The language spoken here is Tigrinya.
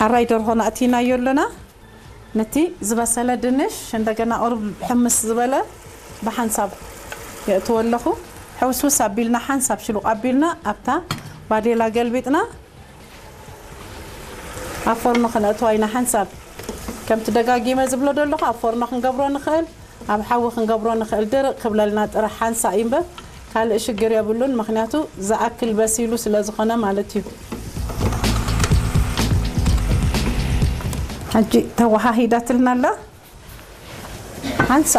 ኣራይ ደርሆና ኣእቲናዮ ኣለና። ነቲ ዝበሰለ ድንሽ እንደገና ቁሩብ ሕምስ ዝበለ ብሓንሳብ የእትዎ ኣለኹ። ሕውስውስ ኣቢልና ሓንሳብ ሽሉቕ ኣቢልና ኣብታ ባዴላ ገልቢጥና ኣብ ፎርኖ ክነእትዋ ኢና። ሓንሳብ ከምቲ ደጋጊመ ዝብሎ ዘለኹ ኣብ ፎርኖ ክንገብሮ ንኽእል፣ ኣብ ሓዊ ክንገብሮ ንኽእል። ድርቕ ክብለልና ጥራሕ ሓንሳእ እዩ እምበር ካልእ ሽግር የብሉን። ምኽንያቱ ዝኣክል በሲሉ ስለ ዝኾነ ማለት እዩ። ሕጂ ተወሃሂዳትልና ኣላ። ሓንሳእ